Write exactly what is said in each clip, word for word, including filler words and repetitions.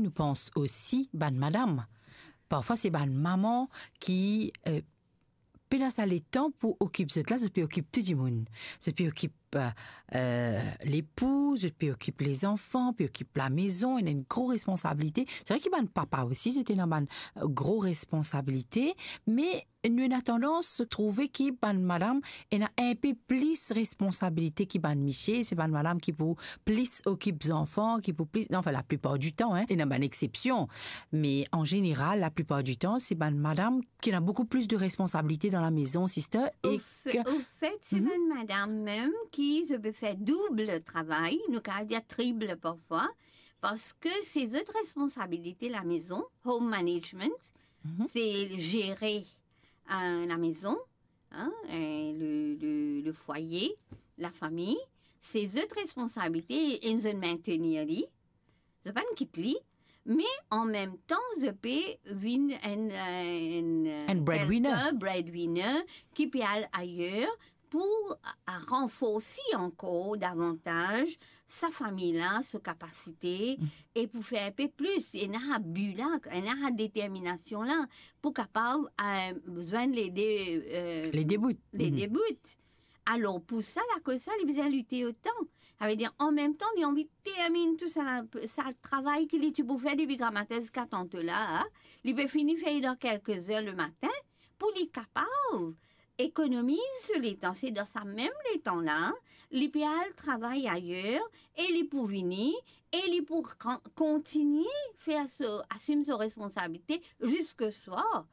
nou pans osi bann madam. Parfwa se bann mama ki, eh, pena sa letan pou okip zot la, zot pe okip tou dimoun. Zot pe okip, eh, eh, lepou, zot pe okip lezanfan, pe okip lamezon, ena enn gro responsabilite. Se vre ki bann papa osi, zot ena bann, eh, gro responsabilite, me nou ena tandans trouve ki bann madam ena enpe plis responsabilite ki bann misie. Se bann madam ki pou plis okip zanfan, ki pou plis, non, anfin, laplipar di tan, hein, ena bann exsepsion, me an zeneral, laplipar di tan, se bann madam ki ena boukou plis de responsabilite dan lamezon, sister, e Ofe-, ke ofet, se bann madam mem ki zot pe fer doub travay, nou kapav dir trip parfwa, parski se zot responsabilite lamezon, home management, se zere, eh, lamezon, hein, eh, le, le, le foyer, lafami, se zot responsabilite e zot mentenir li. Zot pa'nn kit li, me an mem tan, zot pe vinn enn, eh, enn, eh, Enn breadwinner. Kelke breadwinner ki pe al ayer pou a, a ranforsi ankor davantaz sa fami la, so kapasite, e pou fer enpe plis, ena bi la, ena determinasion la, pou kapav, eh, zwenn le de, eh, Le de bout. Le de bout. Alor, pou sa, lakoz sa, li bizin lite otan. Savedir, an mem tan, li anvi terminn tou sa la, sa travay ki li ti pou fer depi gramatin ziska tantela, li pe fini fer dan kelke zer lematin, pou li kapav ekonomiz so letan. Se dan sa mem letan la, li pe al travay ayer, e li pou vini, e li pou kan-, kontigne fer so, asim so responsabilite ziska swar.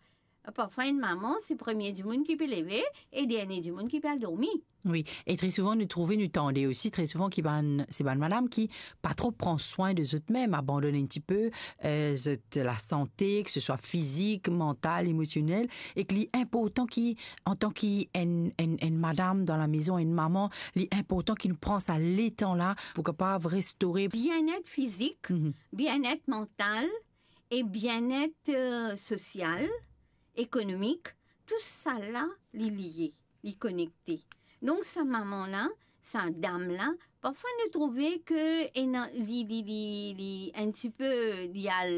Parfwa, enn mama, se premie dimoun ki pe leve e dernie dimoun ki pe al dormi. Wi, e tre souvan nou trouve, nou tande osi tre souvan ki bann, se bann madam ki pa tro pran swin de zot mem, abandonn enn tipe, eh, zot lasante, ke se swa fizik, mantal, emosionel, e ki li inportan ki, antan ki enn, enn, enn madam dan lamezon, enn mama, li inportan ki nou pran sa letan la pou kapav restore. Bienet fizik, bienet mantal, e bienet, eh, sosial, ekonomik, tou sa la, li lie, li konekte. Donk, sa mama la, sa dam la, parfwa nou trouve ke ena, li, li, li, li enn tipe, li al,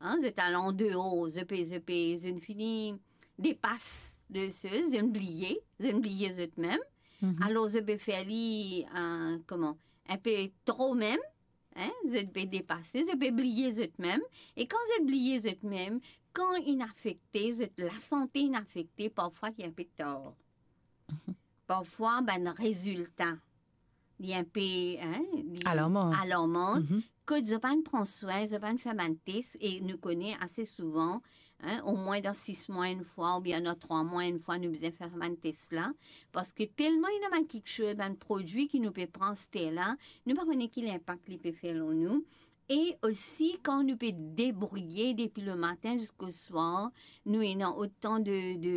hein, zot al andeor, zot pe, zot pe, zot fini depas de se, zot bliye, zot bliye zot mem. Alor, zot pe fer li, eh, kouma, enpe tro mem, hein, zot pe depase, zot pe bliye zot mem, e kan zot bliye zot mem, kan inn afekte, zot lasante inn afekte, parfwa li enpe tar. Parfwa, bann rezilta, li enpe, hein, li Alarman. Alarman. Kot zot pa'nn pran swin, zot pa'nn fer bann tes, e nou kone ase souvan, hein, omwin dan sis mwa enn fwa, oubien dan trwa mwa enn fwa, nou bizin fer bann tes la, parski telman ena bann kiksoz, bann prodwi ki nou pe pran aster la, nou pa kone ki linpak li pe fer lor nou. E osi, kan nou pe debrouye depi lematin ziska swar, nou ena otan de, de,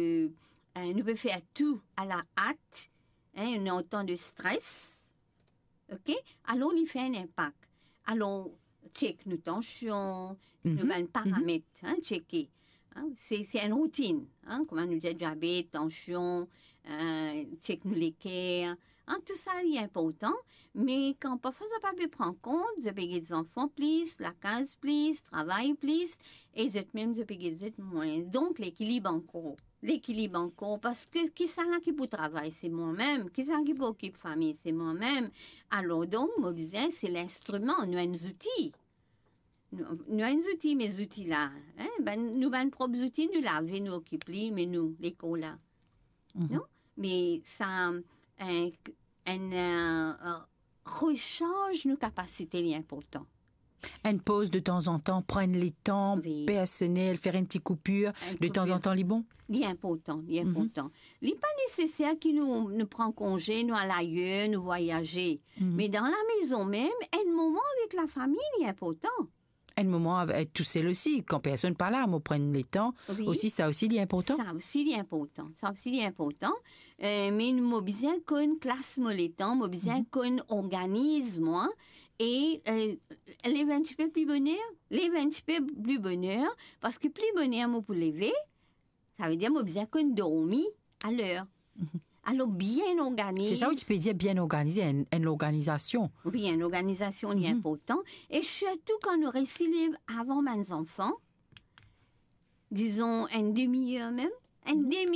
eh, nou pe fer tou a la hat, hein, ena otan de stres, ok? Alor, li fer enn linpak. Alor, tchek nou tansion, nou bann paramet, hein, tcheke. Hein, se, se enn routinn, hein, kouma nou dir, diabet, tansion, eh, tchek nou leker, hein, tou sa li inportan, me kan parfwa zot pa pe pran kont, zot pe get zanfan plis, lakaz plis, travay plis, e zot mem zot pe get zot mwin. Donk, lekilib ankor. Lekilib ankor, parski kisannla ki pou travay, se mwa mem, kisannla ki pou okip fami, se mwa mem. Alor, donk, mo bizin, se linstriman, nou enn zouti. Nou, nou enn zouti, me zouti la, hein, bann, nou bann prop zouti, nou lave, nou okip li, me nou, lekor la. Non? Me sa, enn, enn, eh, resarz nou kapasite, li inportan. Enn poz de tanzantan, pran enn letan personel, fer enn ti koupir, de tanzantan, li bon? Li inportan, li inportan. Li pa neseser ki nou, nou pran konze, nou al ayer, nou vwayaze. Me dan lamezon mem, enn moman avek lafami, li inportan. Enn moman avek, eh, tousel osi, kan personn pa la, mo pran enn letan osi, sa osi, li inportan? Sa osi, li inportan. Sa osi, li inportan. Eh, me mo bizin konn klas mo letan, mo bizin konn organiz mwa, e, eh, lev enn tipe pli boner, lev enn tipe pli boner, parski pli boner mo pou leve, savedir mo bizin konn dormi aler. Alor, bien organize. Se sa ou ti pe dir, bien organize, enn, enn lorganizasion. Wi, enn lorganizasion, li inportan. E sirtou kan nou resi lev avan bann zanfan, dizon enn demi-er mem, enn demi